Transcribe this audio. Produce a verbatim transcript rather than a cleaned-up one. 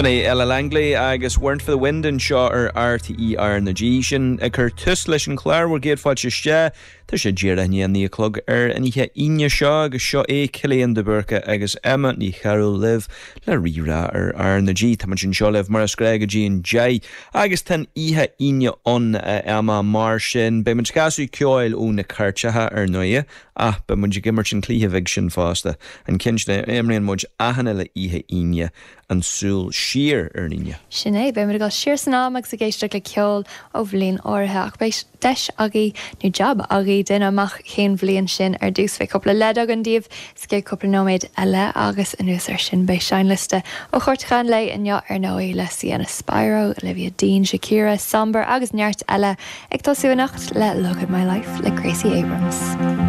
B'in é Ella Langley agus Weren't for the Wind anseo ar RTÉ RnaG sin ag cur tús leis an chlár bhur gcéad fáilte isteach Tá sé díreach i ndiaidh a naoi a chlog ar an oíche Aoine seo agus seo é Cillian de Búrca agus Emma Ní Chearúil libh le Rí-Rá ar RnaG Tá muid anseo libh mar is gnách go dtí an deich agus tá an oíche Aoine ann Emma mar sin beidh muid ag casadh ceoil ó na cairteacha ar ndóigh ach beidh muid ag imirt an cluiche bheag sin fosta an ceann sin a imríonn muid achan uile oíche Aoine an súil siar ar an Aoine. Sin é beimid ag dul siar san am agus ag éisteacht le ceol ó bhliain áirithe ach beidh deis agaibh nó jab agaibh déanamh amach cén bhliain sin ar dtús beidh cúpla leid againn daoibh sa gcéad cúpla nóiméad eile agus anuas ar sin beidh seinnliosta ó chairteacha an lae inniu ar ndóigh le Sienna Spiro, Olivia Dean, Shakira, Sombr agus neart eile ag tosú anocht le Look at My Life le Gracie Abrams.